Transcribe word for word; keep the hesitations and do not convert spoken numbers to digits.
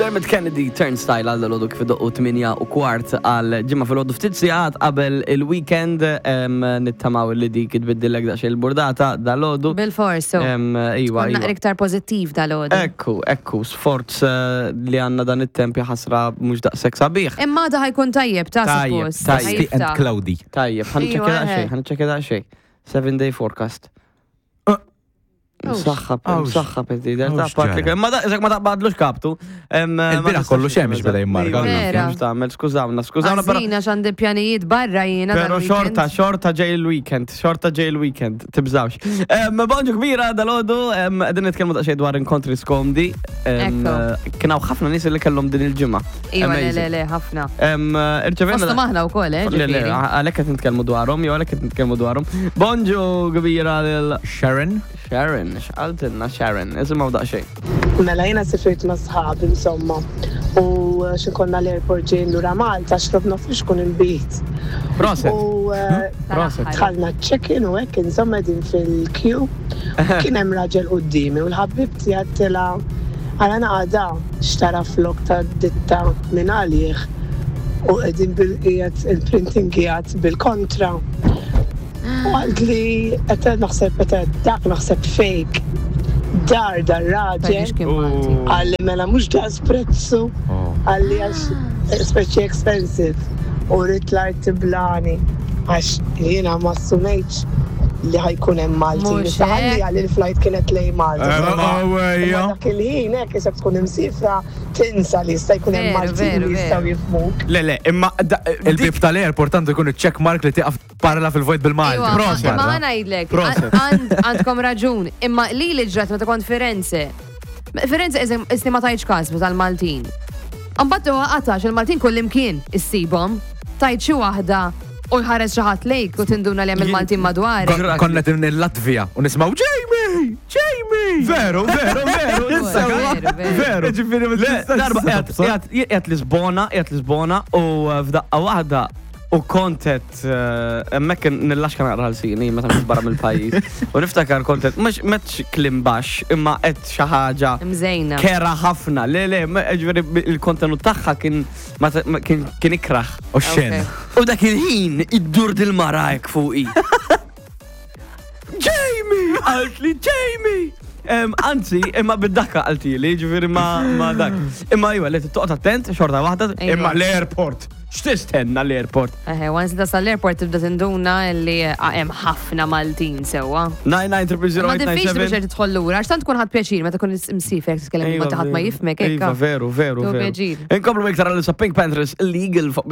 Dermot Kennedy, Turnstile għal dalgħodu kif idoqqu tmienja u kwart għal Ġimgħa filgħodu, ftit sigħat qabel il-weekend, em, nittamaw li dik tbiddillek daqsxejn il-burdata dalgħodu. Bil-fors, so. Em, Iva, Tkun iva. naqra iktar pozittiv dalgħodu. Ekku, ekku, sforz eh, li għandna dan it-temp ħasra mhux daqshekk sabiħ. Imma da ħa jkun tajjeb ta' Tajjeb, suppost. tajjeb. Dusty and Ħa jiftaħ. cloudy. Tajjeb, ħa niċċekkja Iva, daqsxejn, eh. ħa niċċekkja daqsxejn. Seven day forecast. Awx. Msaħħab, Awx. msaħħab id-dider, ta' Awx Patrick. ġara. Ma da, ma taqbadlux kaptu. Em, ma Il-bieraħ tistax kollu xemx beda jimmarka. Vera. Mhux tagħmel, skużawna, skużawna, però Għażina x'għandi pjanijiet barra jiena Pero dal-weekend. xorta, xorta ġej il-weekend, xorta ġej il-weekend, tibżawx. Um, Bonġu kbira dalgħodu, um, qegħdin nitkellmu daqsxejn dwar inkontri skomdi. Um, Ekku. Kien hawn ħafna nies li kellhom din il-ġimgħa. Iva, le, le, Amazing. le, ħafna. Um, Irċevejna. Fosthom aħna wkoll, eh, Le, le, ġifieri. għalhekk qed nitkellmu dwarhom, jew għalhekk qed nitkellmu dwarhom. Bonġu kbira lil Sharon. Sharon, x'qaltilna Sharon, isimgħu daqsxejn. Mela jiena sifirt ma' sħab insomma u xi konna l-airport ġejjin lura Malta, xrobna flixkun inbid. Proset. U eh, Proset. dħalna check-in u hekk insomma din fil-queue. Kien hemm raġel quddiemi u l-ħabib tiegħi tela għala naqada xtara flok ta' ditta minn għalih u qegħdin bil-qiegħed il-printing qiegħed bil-kontra. U għalt li qed naħseb qed dak naħseb fake. Dar dar raġel. Tgħidix kien Malti. Qalli mela mhux daqs prezzu, Oh. qalli għax speċi expensive u rrit l-art tiblani għax jiena ma assumejtx li ħa jkun hemm Malti. Mhux Issa ħalli hekk. għalli l-flight kienet lejn Malta. Eh, Imma oh, ejja. dak il-ħin hekk isek tkun imsifra tinsa li jista' jkun hemm Veru, Maltin veru, li jistgħu veru. jifhmuk. Le, le, imma da- Il-bib tal-airport għandu jkun il-check mark li tiqaf parla fil-vojt bil-Malti. Iwa, Proset. ma ħa ngħidlek, Proset. għand- għandkom raġun, imma li li ġrat meta kont Firenze. Firenze isni ma tajċ każ tal-Maltin. Mbagħad huwa qatax il-Maltin kullimkien issibhom, tajt xi waħda u jħares xi ħadd lejk u tinduna li hemm il-Maltin madwar. Kon- Konna din il-Latvija u nismaw Jamie! Jamie! Veru, veru, veru, Veru, veru. veru. Ġifieri ma Le, tistax darba tobsor. qiegħed qiegħed Lisbona, qiegħed Lisbona u uh, f'daqqa waħda u kontet uh, hemmhekk nillaxka naqra l-sini meta mhux barra mill-pajjiż. U niftakar kontet mhux m'għedtx kliem baxx imma qed xi ħaġa Mżejna. kera ħafna. Le, le, ma- ġifieri il-kontenut tagħha kien ma ta- ma- kien kien ikraħ. U xen. Ok. U dak il-ħin iddur dil-mara hekk fuqi. Jamie! Għalt li Jamie! Em, Anzi, imma bid-dakka qaltili, ġifieri ma, ma dak. Imma iva, li toqgħod attent, xorta waħda, Iva. imma l-airport. X'tistenna l-airport? Eħe, once tasal l-airport tibda tinduna li hemm ħafna Maltin sewwa. nine nine zero zero Ma diffiċli biex eight nine seven. tidħol lura, għax tant tkun ħadd pjaċir meta tkun imsifer titkellem ma ħadd ma jifhmek Iva, hekk. veru, veru, Tu veru. pjaċir. Inkomplu iktar għal Pink Panthers, Illegal fuq